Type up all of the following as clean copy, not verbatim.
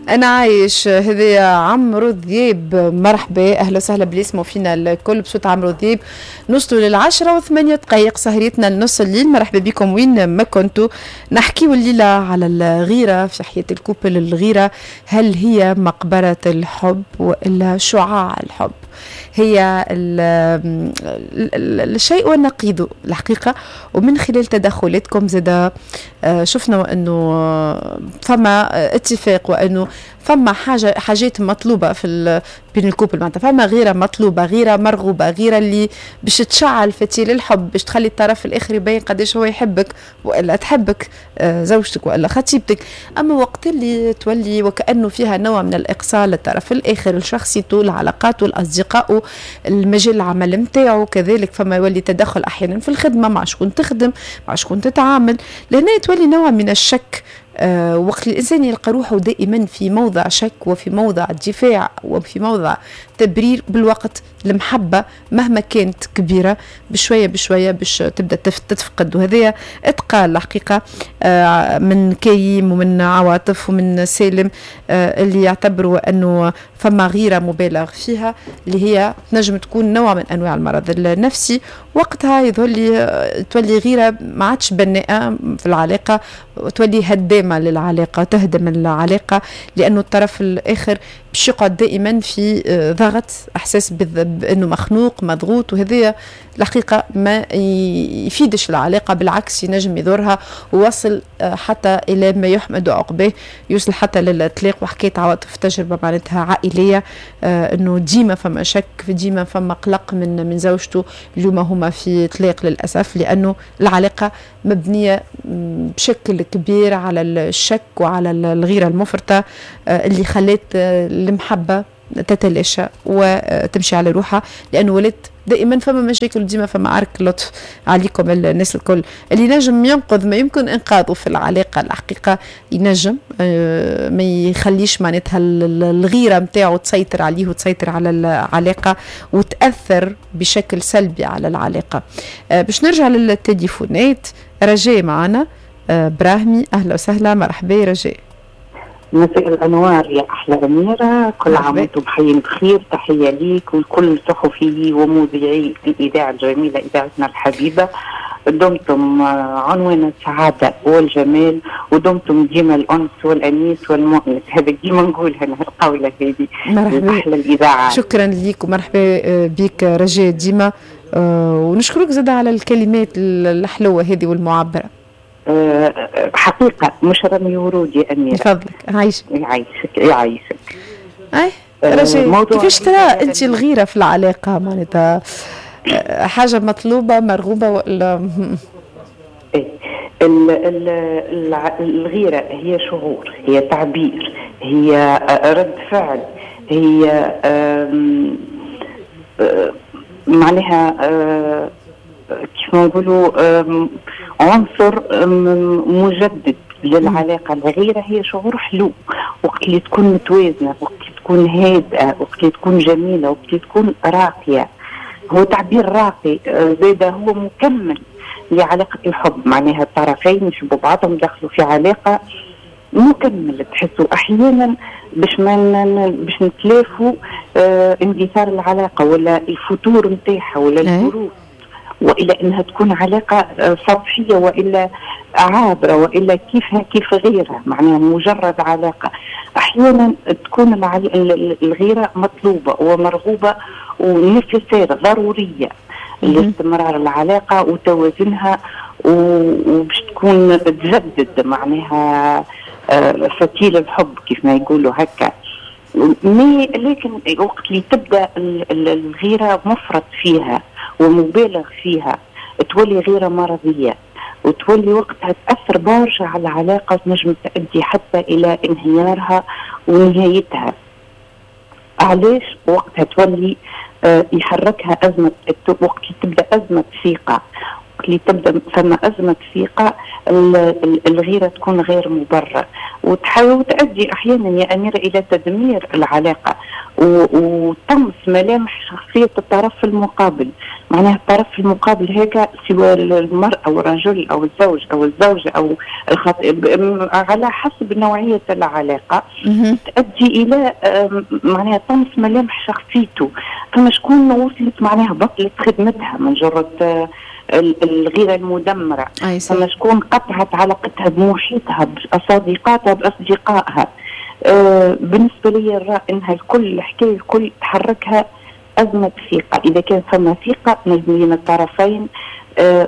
انا عايش. هذا عمرو ذياب، مرحبا، اهلا وسهلا بلي يسمعوا فينا الكل بصوت عمرو ذياب. نوصلوا 10:08 سهريتنا لنص الليل. مرحبا بكم وين ما كنتوا. نحكيو الليلة على الغيرة في حياة ال couple. الغيرة هل هي مقبره الحب والا شعاع الحب؟ هي الشيء ونقيضه الحقيقة. ومن خلال تدخلاتكم زاد شفنا أنه فما اتفاق وأنه فما حاجات مطلوبة في بين ال couple، معناتها فما غيرة مطلوبة، غيرة مرغوبة، غيرة اللي باش تشعل فتيل الحب، باش تخلي الطرف الآخر يبين قداش هو يحبك وإلا تحبك زوجتك وإلا خطيبتك. أما وقت اللي تولي وكأنه فيها نوع من الإقصاء للطرف الآخر، لشخصيته، لعلاقاته، لأصدقائه، المجال العمل نتاعو كذلك، فما يولي تدخل أحيانا في الخدمة، مع شكون تخدم، مع شكون تتعامل، لهنا تولي نوع من الشك. وقت الإنسان يلقى روحه دائما في موضع شك وفي موضع دفاع وفي موضع تبرير، بالوقت المحبة مهما كانت كبيرة بشوية بشوية باش تبدأ تتفقد. وهذا اتقال الحقيقة من كيم ومن عواطف ومن سالم اللي يعتبروا أنه فما غيرة مبالغ فيها اللي هي تنجم تكون نوع من أنواع المرض النفسي. وقتها يظهر لي تولي غيرة ما عادش بناءة في العلاقة، وتولي هدامة للعلاقة، تهدم العلاقة، لأنه الطرف الآخر باش يقعد دائما في ضغط، احساس بانه مخنوق مضغوط، وهذا الحقيقة ما يفيدش العلاقة، بالعكس ينجم يضرها ووصل حتى الى ما يحمد عقباه، يوصل حتى للطلاق. وحكاية عواطف تجربه معناتها عائلية، انه ديما فما شك، ديما فما قلق من زوجته. اليوم هما في طلاق للاسف، لانه العلاقة مبنية بشكل كبير على الشك وعلى الغيرة المفرطة اللي خلت المحبة تتلاشى وتمشي على روحها، لانه ولات دائما فما مشاكل، ديما فما عرك. لطف عليكم الناس الكل، اللي نجم ينقذ ما يمكن انقاذه في العلاقة الحقيقة ينجم ما يخليش معناتها الغيرة نتاعو تسيطر عليه وتسيطر على العلاقة وتاثر بشكل سلبي على العلاقة. باش نرجع للتليفونات، رجاء معنا براهمي، اهلا وسهلا، مرحبا رجاء. مساء الانوار يا احلى اميره، كل عام وانتم بحي بخير. تحية ليك ولكل صحفي ومذيعي الاذاعة الجميلة، اذاعتنا الحبيبة. دمتم عنوان السعادة والجمال، ودمتم ديما الانس والانيس والمؤنس. هذا ديما نقولها القوله هذه. مرحبا، احلى الاذاعة. شكرا ليك ومرحبا بك رجاء ديما، ونشكرك زاد على الكلمات الحلوة هذه والمعبره. حقيقة مش رمي ورود يا أميرة. تفضلك، عايشك. يعيشك يعيشك. أي رجاء، كيفاش ترى أنت الغيرة في العلاقة؟ معناتها حاجة مطلوبة مرغوبة ولا؟ إيه، الغيرة هي شعور، هي تعبير، هي رد فعل، هي معناها كيف ما نقولوا عنصر مجدد للعلاقة. الغيرة هي شعور حلو وقت اللي تكون متوازنة، وقت اللي تكون هادئة، وقت اللي تكون جميلة، وقت اللي تكون راقية. هو تعبير راقي، زاد هو مكمل لعلاقة الحب، معناها الطرفين يحبوا بعضهم، دخلوا في علاقة مكمل. تحسوا احيانا باش ما باش نتلافوا اندثار العلاقة ولا الفتور نتاعها ولا البرود، والى انها تكون علاقة سطحية والا عابرة والا كيفها كيف غيرها، معناها مجرد علاقة. احيانا تكون الغيرة مطلوبه ومرغوبه و nécessaire، ضرورية لاستمرار العلاقة وتوازنها، وباش تكون تجدد معناها فتيل الحب كيف ما يقولوا هكا. mais لكن وقت اللي تبدا الغيرة مفرط فيها ومبالغ فيها، تولي غيره مرضية، وتولي وقتها تاثر برشا على العلاقة، وتنجم تؤدي حتى الى انهيارها ونهايتها. علاش؟ وقتها تولي يحركها ازمة، وقت تبدا ازمة ثقة، وقت اللي تبدا فما ازمة ثقه، الغيرة تكون غير مبررة وتحاول تؤدي احيانا يا اميره الى تدمير العلاقة وطمس ملامح شخصية الطرف المقابل. معناها الطرف المقابل هيك، سواء المرأة أو الرجل أو الزوج أو الزوجة أو على حسب نوعية العلاقة، تؤدي إلى معناها طمس ملامح شخصيته. فما شكون وصلت معناها بطلت خدمتها من جرة الغيرة المدمرة، فما شكون قطعت علاقتها بمحيطها، بصديقاتها، بأصدقائها. بالنسبة لي نرى انها الكل، الحكاية الكل تحركها ازمة ثقه. اذا كان فما ثقة بين الطرفين،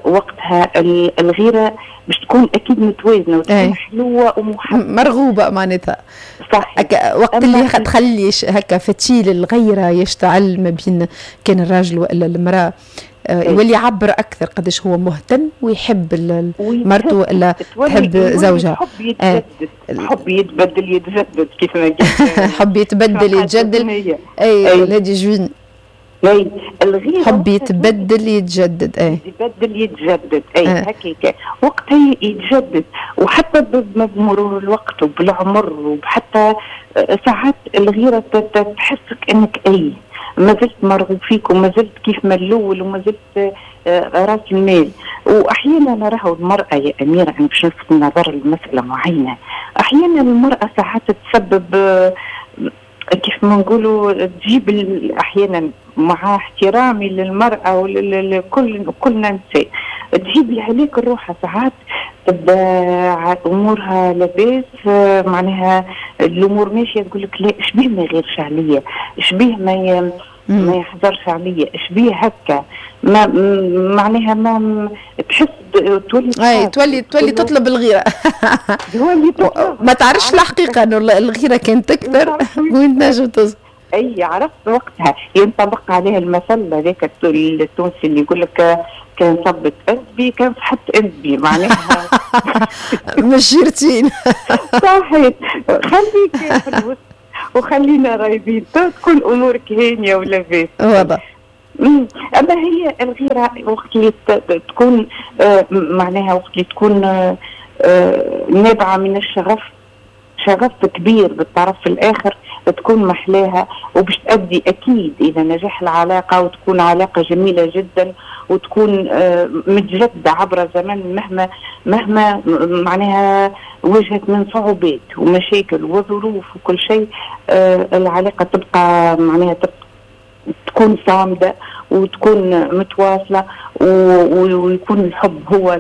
وقتها الغيرة باش تكون اكيد متوازنة وتكون حلوة ومحبه. مرغوبة معناتها. صح. وقت اللي تخلي هكا فتيل الغيرة يشتعل ما بين كان الراجل والا المراه، يولي يعبر اكثر قداش هو مهتم ويحب مرته والا تحب زوجها. حب يتجدد، حب يتبدل يتجدد كيف ما قلت. حب يتبدل يتجدد، اي الهادي جوين. اي الغيرة حب يتبدل يتجدد، اي يتبدل يتجدد، اي هكاك وقتها يتجدد. وحتى بمرور الوقت وبالعمر، وحتى ساعات الغيرة تحسك انك اي ما زلت مرغوب فيك وما زلت كيف ما الاول وما زلت راس المال. واحيانا نراه المراة يا اميره، انا باش نلفت النظر لمسالة معينه، احيانا المراة ساعات تسبب كيف ما نقولوا تجيب احيانا، مع احترامي للمراة ولكل كلنا نساء، تجيب الهلاك الروح. ساعات تبدا امورها لاباس، معناها الامور ماشيه، تقول لك لا، شبيه ما يغيرش عليا، شبيه ما يحضرش عليا، شبيه هكا، ما معناها ما تحس تولي اي تولي تطلب الغيره. ما تعرفش الحقيقة انه الغيرة كانت تكثر وين تنجم توصل. اي عرفت وقتها ينطبق عليها المثل هذاك التونسي اللي يقول لك كان صبت اندبي كان صحت اندبي، معناها مش جيرتين. صحيح، خليك في الوسط وخلينا رايبين، تكون امورك هانيه ولاباس. واضح. اما هي الغيرة وقت اللي تكون معناها وقت اللي تكون نابعة من الشغف، شغف كبير بالطرف الاخر، تكون محلاها وباش تؤدي اكيد الى نجاح العلاقة، وتكون علاقة جميلة جدا وتكون متجددة عبر الزمن مهما معناها واجهت من صعوبات ومشاكل وظروف وكل شيء، العلاقة تبقى معناها تكون صامده وتكون متواصلة ويكون الحب هو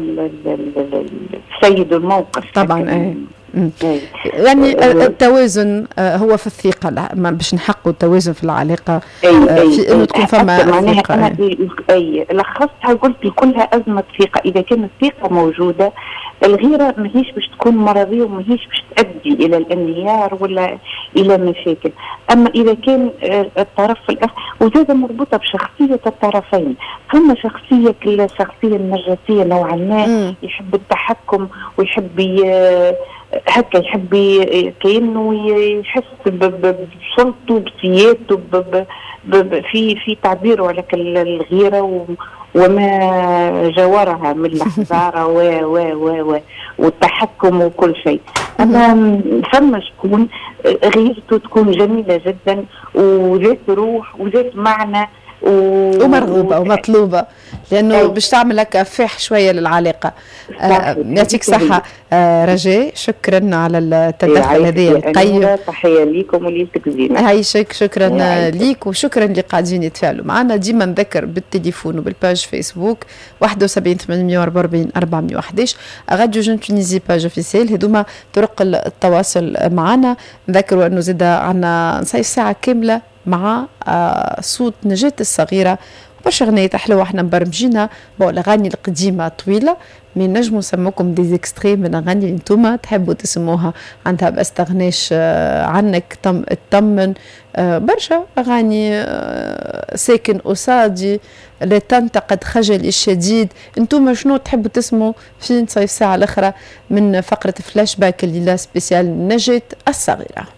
السيد الموقف. طبعا ايه. يعني التوازن هو في الثقة، باش نحققوا التوازن في العلاقة في انه تكون فما ثقة. أنا اي لخصتها قلت كلها أزمة ثقة. إذا كانت الثقة موجودة الغيرة ماهيش باش تكون مرضية وماهيش باش تؤدي إلى الانهيار ولا إلى مشاكل. أما إذا كان الطرف الآخر، وزاد مربوطة بشخصية الطرفين، فما شخصية الشخصية النرجسية نوعا ما يحب التحكم ويحب هكا، يحب كأنه يحس بسلطته بسيادته في تعبيره على الغيرة وما جاورها من الحزارة و و و و والتحكم وكل شيء. أما فما شكون غيرته تكون جميلة جدا وذات روح وذات معنى ومرغوبة ومطلوبة، لأنه باش تعمل هكا فاح شوية للعلاقة. يعطيك صحة رجاء، شكرا على التدخل هذا القيم. تحية ليكم وليلتك زينة. عايشك، شكرا ليك وشكرا اللي قاعدين يتفاعلوا معنا. ديما نذكر بالتليفون وبال page فيسبوك 71 844 411، Radio Jeune Tunisie page officielle، هذوما طرق التواصل معنا. نذكروا أنه زاد عندنا نصيف ساعة كاملة مع صوت نجاة الصغيرة، برشا غنية حلوة احنا مبرمجينها. bon الأغاني القديمة طويلة، mais نجمو نسموكم des extraits من الأغاني اللي انتوما تحبوا تسموها، عندها بستغناش عنك، اطمن، برشا أغاني، ساكن قصادي، لا تنتقد خجلي الشديد. انتوما شنو تحبوا تسموا في نصيف ساعة الأخرى من فقرة فلاش باك الليلة spéciale نجاة الصغيرة.